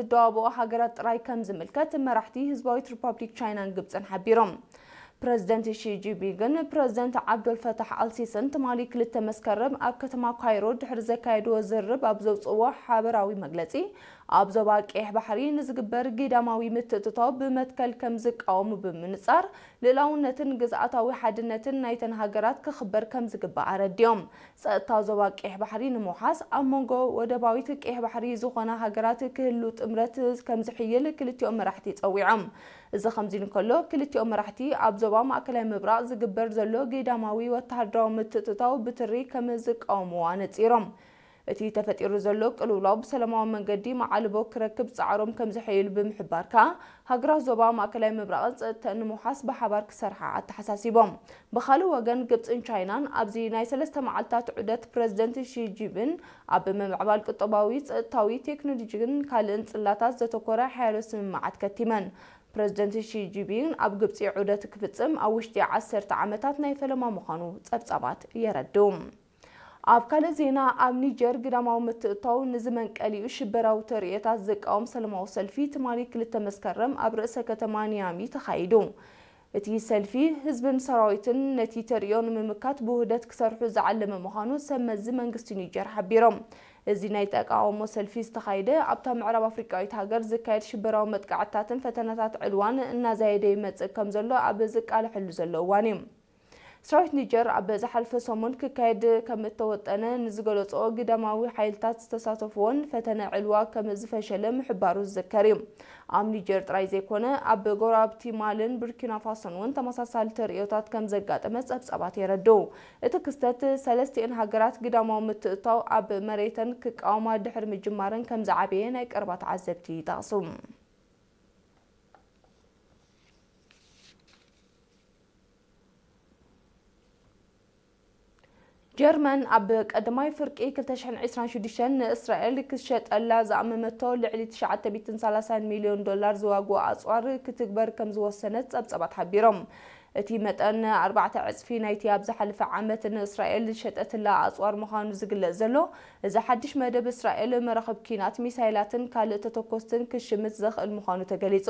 ዝደዋብኦ ሃገራት ጥራይ ከም ዝምልከት መራሕቲ ህዝባዊት ሪፓብሊክ ቻይናን ግብፅን ሓቢሮም። ፕረዚደንት ሺ ጂንፒንግን ፕረዚደንት ዓብዶልፈታሕ ኣልሲስን ትማሊ ክልተ መስከረም ኣብ ከተማ ካይሮ ድሕሪ ዘካየድዎ ዝርርብ ኣብ ዘውፅእዎ ሓበራዊ መግለፂ፣ ኣብ ዞባ ቀይሕ ባሕሪ ንዝግበር ግዳማዊ ምትእትታው ብመትከል ከም ዝቃወሙ ብምንፃር፣ ልእላውነትን ግዝኣታዊ ሓድነትን ናይተን ሃገራት ክኽበር ከም ዝግባእ ኣረዲኦም። ጸጥታ ዞባ ቀይሕ ባሕሪ ንምውሓስ ኣብ መንጎ ወደባዊት ቀይሕ ባሕሪ ዝኾና ሃገራት ክህሉ ጥምረት ከም ዝሕይል ክልቲኦም መራሕቲ ጸዊዖም። እዚ ከምዚ እንከሎ፣ ክልቲኦም መራሕቲ ኣብ ዞባ ማእከላይ ምብራቕ ዝግበር ዘሎ ግዳማዊ ወተሃደራዊ ምትእትታው ብትሪ ከም ዝቃወምዎ ኣነጺሮም። እቲ ተፈጢሩ ዘሎ ቅልውላው ብሰላማዊ መንገዲ መዓልቦ ክረክብ ጻዕሮም ከም ዝሕይሉ ብምሕባር ከኣ፣ ሃገራት ዞባ ማእከላይ ምብራቕን ጸጥተን ንምውሓስ ብሓባር ክሰርሓ ኣተሓሳሲቦም። ብኻልእ ወገን፣ ግብጽን ቻይናን ኣብዚ ናይ ሰለስተ መዓልታት ዑደት ፕረዚደንት ሺ ጂንፒንግ ኣብ ምምዕባል ቁጠባዊ፣ ጸጥታዊ፣ ቴክኖሎጂን ካልእን ጽላታት ዘተኮረ ሓያሎ ስምምዓት ከቲመን። ፕረዚደንት ሺ ጂንፒንግ ኣብ ግብጺ ዑደት ክፍጽም ኣብ ውሽጢ ዓሰርተ ዓመታት ናይ ፈለማ ምዃኑ ጸብጻባት የረድኡ። ኣብ ካልእ ዜና፣ ኣብ ኒጀር ግዳማዊ ምትእትታው ንዝመንቀሊኡ ሽበራዊ ተርእዮታት ዝቃወም ሰላማዊ ሰልፊ ትማሊ ክልተ መስከረም ኣብ ርእሰ ከተማ ኒያሚ ተኻይዱ። እቲ ሰልፊ ህዝብን ሰራዊትን ነቲ ተርእዮ ንምምካት ብውህደት ክሰርሑ ዝዓለመ ምዃኑ ሰብ መዚ መንግስቲ ኒጀር ሓቢሮም። እዚ ናይ ተቃውሞ ሰልፊ ዝተኻየደ ኣብታ ምዕራብ ኣፍሪቃዊት ሃገር ዝካየድ ሽበራዊ መጥቃዕትታትን ፈተነታት ዕልዋን እናዛየደ ይመጽእ ከም ዘሎ ኣብ ዝቃለሐሉ ዘሎ እዋን እዩ። ሰራዊት ኒጀር ኣብ ዝሓለፈ ሰሙን ክካየድ ከም እተወጠነ ንዝገለጾ ግዳማዊ ሓይልታት ዝተሳተፍዎን ፈተነ ዕልዋ ከም ዝፈሸለ ምሕባሩ ዝዝከር እዩ። ኣብ ኒጀር ጥራይ ዘይኮነ፣ ኣብ ጎረባብቲ ማልን ቡርኪና ፋሶን እውን ተመሳሳሊ ተርእዮታት ከም ዘጋጠመ ጸብጻባት የረድኡ። እቲ ክስተት፣ ሰለስቲኤን ሃገራት ግዳማዊ ምትእትታው ኣብ መሬተን ክቃወማ ድሕሪ ምጅማረን ከም ዝዓበየ ናይ ቀረባ ተዓዘብቲ ይጠቕሱ። ጀርመን ኣብ ቀዳማይ ፍርቂ ክልተ ሽሕን ዕስራን ሽዱሽተን ንእስራኤል ክትሸጠላ ዝኣመመቶ ልዕሊ ትሽዓተ ሚእትን ሰላሳን ሚልዮን ዶላር ዝዋግኡ ኣጽዋር ክትግበር ከም ዝወሰነት ጸብጻባት ሓቢሮም። እቲ መጠን ኣርባዕተ ዕጽፊ ናይቲ ኣብ ዝሓለፈ ዓመት ንእስራኤል ዝሸጠትላ ኣጽዋር ምዃኑ ዝግለጽ ዘሎ እዚ ሓድሽ መደብ፣ እስራኤል መራኽብ ኲናት፣ ሚሳይላትን ካልእ ተተኮስትን ክሽምት ዘኽእል ምዃኑ ተገሊጹ።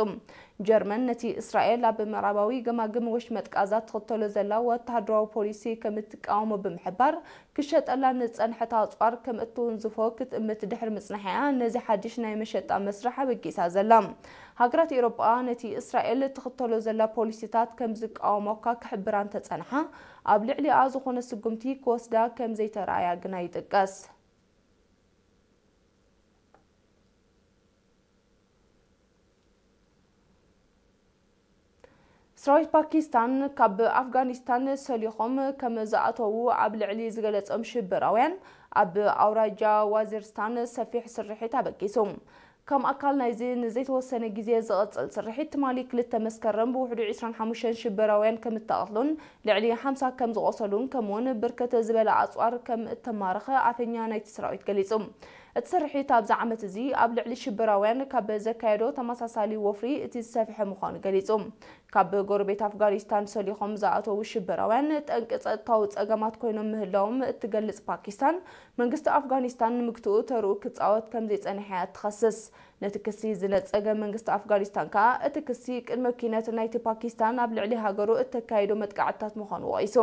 ጀርመን ነቲ እስራኤል ኣብ ምዕራባዊ ገማግም ወሽመጥ ቃዛ ትኽተሎ ዘላ ወተሃደራዊ ፖሊሲ ከም እትቃወሞ ብምሕባር፣ ክሸጠላ ንጸንሐት ኣጽዋር ከም እትውንዝፎ ክትእምት ድሕሪ ምጽናሕ'ያ ነዚ ሓድሽ ናይ መሸጣ መስርሕ ኣበጊሳ ዘላ። ሃገራት ኤውሮጳ ነቲ እስራኤል ትኽተሎ ዘላ ፖሊሲታት ከም ዝቃወሞካ ክሕብራ እንተጸንሓ፣ ኣብ ልዕሊኣ ዝኾነ ስጉምቲ ክወስዳ ከም ዘይተራእያ ግና ይጥቀስ። ሰራዊት ፓኪስታን ካብ ኣፍጋኒስታን ሰሊኾም ከም ዝኣተዉ ኣብ ልዕሊ ዝገለጾም ሽበራውያን፣ ኣብ ኣውራጃ ዋዚርስታን ሰፊሕ ስርሒት ኣበጊሱ። ከም ኣካል ናይዚ ንዘይተወሰነ ግዜ ዝቕጽል ስርሒት፣ ትማሊ ክልተ መስከረም ብውሕዱ ዕስራን ሓሙሽተን ሽበራውያን ከም እተቐትሉን ልዕሊ ሓምሳ ከም ዝቖሰሉን፣ ከምኡውን ብርክት ዝበለ ኣጽዋር ከም እተማረኸ ኣፈኛ ናይቲ ሰራዊት ገሊጹ። እቲ ስርሒት ኣብዚ ዓመት እዚ ኣብ ልዕሊ ሽበራውያን ካብ ዘካየዶ ተመሳሳሊ ወፍሪ እቲ ዝሰፍሐ ምዃኑ ገሊጹ። ካብ ጎረቤት ኣፍጋኒስታን ሰሊኾም ዝኣተዉ ሽበራውያን ጠንቂ ጸጥታዊ ጸገማት ኮይኖም ምህላዎም እትገልጽ ፓኪስታን፣ መንግስቲ ኣፍጋኒስታን ንምግትኡ ተርኡ ክጻወት ከም ዘይጸንሐ እያ ትኸስስ። ነቲ ክሲ ዝነጸገ መንግስቲ ኣፍጋኒስታን ከኣ፣ እቲ ክሲ ቅድመ ኲናት ናይቲ ፓኪስታን ኣብ ልዕሊ ሃገሩ እተካየዶ መጥቃዕትታት ምዃኑ ወቒሱ።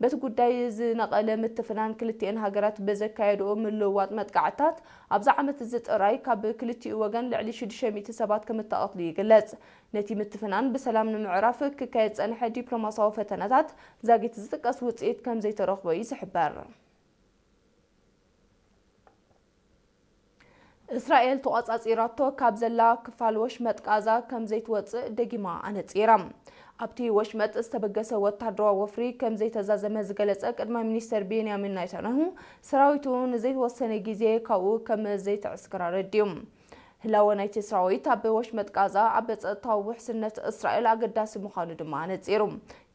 በቲ ጉዳይ ዝነቐለ ምትፍናን ክልቲኤን ሃገራት ብዘካየድኦ ምልውዋጥ መጥቃዕትታት፣ ኣብዚ ዓመት እዚ ጥራይ ካብ ክልቲኡ ወገን ልዕሊ ሽዱሽተ ሚእቲ ሰባት ከም እተቐትሉ ይግለጽ። ነቲ ምትፍናን ብሰላም ንምዕራፍ ክካየድ ዝጸንሐ ዲፕሎማስያዊ ፈተነታት ዛጊት ዝጥቀስ ውጽኢት ከም ዘይተረኽቦ እዩ ዝሕበር። እስራኤል ተቖጻጺራቶ ካብ ዘላ ክፋል ወሽመጥ ቃዛ ከም ዘይትወጽእ ደጊማ ኣነጺራ። ኣብቲ ወሽመጥ ዝተበገሰ ወተሃደራዊ ወፍሪ ከም ዘይተዛዘመ ዝገለጸ ቀዳማይ ሚኒስተር ቤንያሚን ናታንያሁ፣ ሰራዊቱ ንዘይተወሰነ ግዜ ካብኡ ከም ዘይትዕስክር ኣረዲኡ። ህላወ ናይቲ ሰራዊት ኣብ ወሽመጥ ቃዛ ኣብ ጸጥታዊ ውሕስነት እስራኤል ኣገዳሲ ምዃኑ ድማ ኣነጺሩ።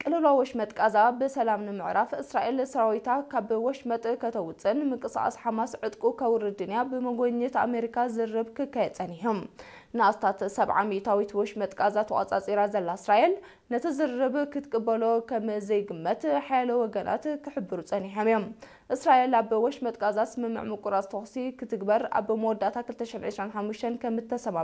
ቅልውላው ወሽመጥ ቃዛ ብሰላም ንምዕራፍ፣ እስራኤል ሰራዊታ ካብ ወሽመጥ ከተውጽእን ምንቅስቓስ ሓማስ ዕጥቁ ከውርድን እያ ብመጎብኘት ኣሜሪካ ዝርርብ ክካየድ ጸኒሑ። ንኣስታት ሰብዓ ሚእታዊት ወሽመጥ ቃዛ ተቖጻጺራ ዘላ እስራኤል፣ ነቲ ዝርርብ ክትቅበሎ ከም ዘይግመት ሓያሎ ወገናት ክሕብሩ ጸኒሖም እዮም። እስራኤል ኣብ ወሽመጥ ቃዛ ስምምዕ ምቁራጽ ተኹሲ ክትግበር ኣብ መወዳእታ ክልተ ሽሕን ዕስራን ሓሙሽተን ከም እተሰማምዐ